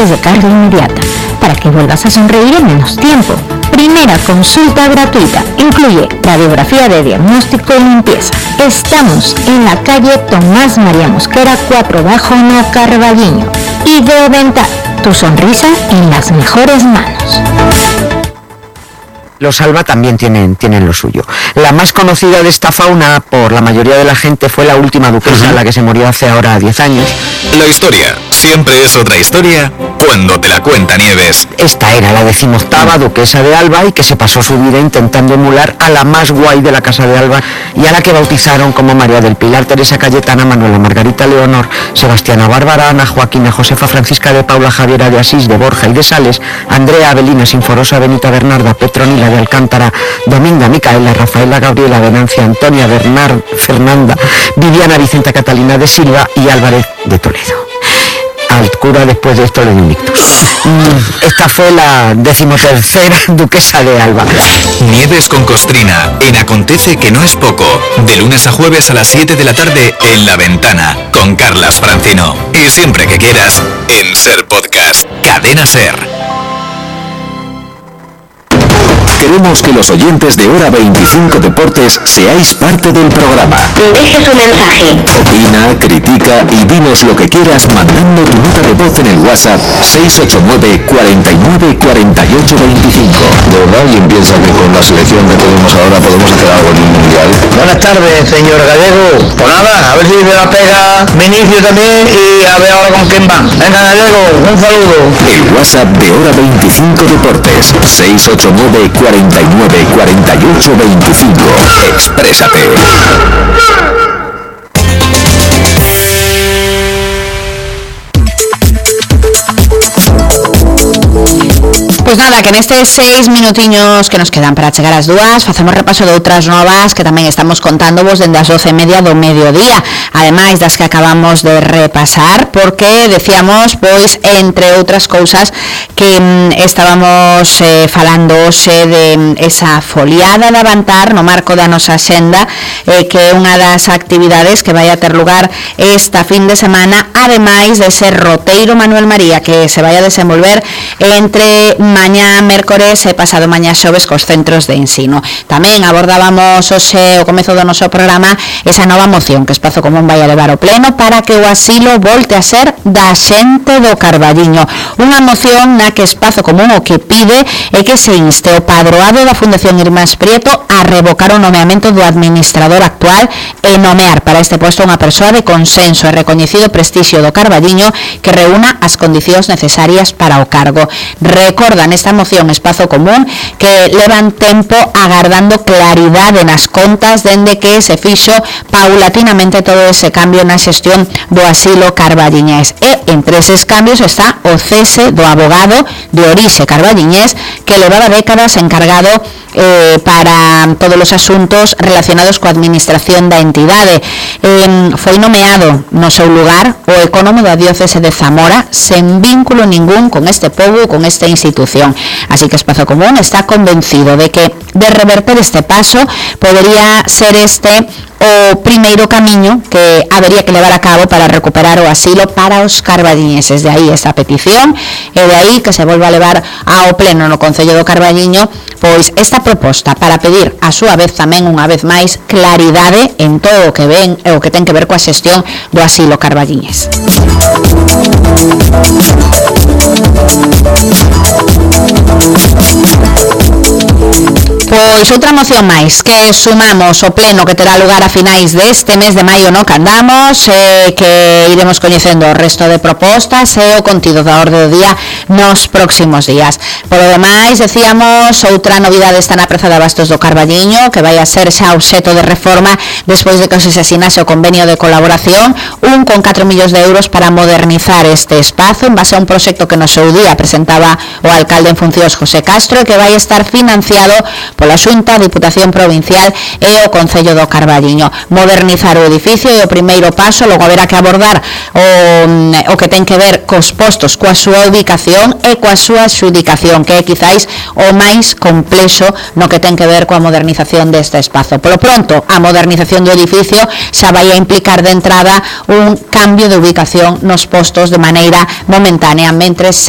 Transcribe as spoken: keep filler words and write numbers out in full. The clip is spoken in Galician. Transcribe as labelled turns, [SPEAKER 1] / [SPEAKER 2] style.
[SPEAKER 1] es de carga inmediata, para que vuelvas a sonreír en menos tiempo. Primera consulta gratuita. Incluye radiografía de diagnóstico y limpieza. Estamos en la calle Tomás María Mosquera cuatro bajo No Carballiño. Ideodental. Tu sonrisa en las mejores manos.
[SPEAKER 2] Los Alba también tienen, tienen lo suyo. La más conocida de esta fauna por la mayoría de la gente fue la última duquesa, uh-huh. la que se murió hace ahora diez años.
[SPEAKER 3] La historia siempre es otra historia cuando te la cuenta Nieves.
[SPEAKER 2] Esta era la decimoctava duquesa de Alba y que se pasó su vida intentando emular a la más guay de la casa de Alba y a la que bautizaron como María del Pilar, Teresa Cayetana, Manuela Margarita Leonor, Sebastiana Bárbara, Ana Joaquina, Josefa Francisca de Paula, Javiera de Asís, de Borja y de Sales, Andrea Avelina, Sinforosa, Benita Bernarda, Petronila de Alcántara, Dominga Micaela, Rafaela Gabriela, Venancia, Antonia Bernard, Fernanda, Viviana Vicenta Catalina de Silva y Álvarez de Toledo. Al cura después de esto le dio un ictus. Esta fue la decimotercera duquesa de Alba.
[SPEAKER 3] Nieves con Costrina, en Acontece que no es poco, de lunes a jueves a las siete de la tarde en La Ventana, con Carlas Francino. Y siempre que quieras, en Ser Podcast, Cadena Ser.
[SPEAKER 4] Queremos que los oyentes de Hora veinticinco Deportes seáis parte del programa.
[SPEAKER 5] Deje su mensaje.
[SPEAKER 4] Opina, critica y dinos lo que quieras mandando tu nota de voz en el WhatsApp seis ocho nueve, cuarenta y nueve, cuarenta y ocho, veinticinco.
[SPEAKER 6] ¿De verdad alguien piensa que con la selección que tenemos ahora podemos hacer algo en un mundial?
[SPEAKER 7] Buenas tardes, señor Gallego. Pues nada, a ver si me la pega Vinicio también y a ver ahora con quién va. Venga, Gallego, un saludo.
[SPEAKER 4] El WhatsApp de Hora veinticinco Deportes seis ocho nueve, cuarenta y nueve, cuarenta y ocho, veinticinco. Exprésate.
[SPEAKER 8] Pois nada, que nestes seis minutiños que nos quedan para chegar ás dúas facemos repaso de outras novas que tamén estamos contándovos dende as doce e media do mediodía, ademais das que acabamos de repasar, porque decíamos, pois, entre outras cousas que mm, estábamos eh, falando hoxe de mm, esa foliada de Avantar no marco da nosa xenda, eh, que é unha das actividades que vai a ter lugar esta fin de semana, ademais de ser roteiro Manuel María, que se vai a desenvolver entre mañá mércores e pasado mañá xoves cos centros de ensino. Tamén abordábamos hoxe o comezo do noso programa esa nova moción que Espazo Común vai a levar ao pleno para que o asilo volte a ser da xente do Carballiño. Unha moción na que Espazo Común o que pide é que se inste o padroado da Fundación Irmáns Prieto a revocar o nomeamento do administrador actual e nomear para este posto unha persoa de consenso e recoñecido prestixio do Carballiño que reúna as condicións necesarias para o cargo. Recorda nesta moción Espazo Común que levan tempo agardando claridade nas contas dende que se fixo paulatinamente todo ese cambio na xestión do asilo carballiñés e entre eses cambios está o cese do abogado de orixe carballiñés que levaba décadas encargado eh, para todos os asuntos relacionados coa administración da entidade. Eh, foi nomeado no seu lugar o ecónomo da diócese de Zamora sen vínculo ningún con este pobo, con esta institución. Así que Espazo Común está convencido de que de reverter este paso podería ser este o primeiro camiño que habería que levar a cabo para recuperar o asilo para os carballiñeses. De aí esta petición e de aí que se volva a levar ao pleno no Concello do Carballiño pois esta proposta para pedir a súa vez tamén unha vez máis claridade en todo o que ven e o que ten que ver coa xestión do asilo carballiñés. Pois outra moción máis que sumamos o pleno que terá lugar a finais deste mes de maio no que andamos, eh, que iremos coñecendo o resto de propostas e o contido da orde do día nos próximos días. Por o demais, decíamos, outra novidade está na Praza de Abastos do Carballiño, que vai a ser xa obxeto de reforma despois de que se asinase o convenio de colaboración, un con catro millóns de euros para modernizar este espazo en base a un proxecto que no seu día presentaba o alcalde en funcións José Castro e que vai estar financiado pola Xunta, Diputación Provincial e o Concello do Carballiño. Modernizar o edificio é o primeiro paso, logo haberá que abordar o, o que ten que ver cos postos, coa súa ubicación e coa súa xudicación, que é quizáis o máis complexo no que ten que ver coa modernización deste espazo. Polo pronto, a modernización do edificio xa vai a implicar de entrada un cambio de ubicación nos postos de maneira momentánea, mentre se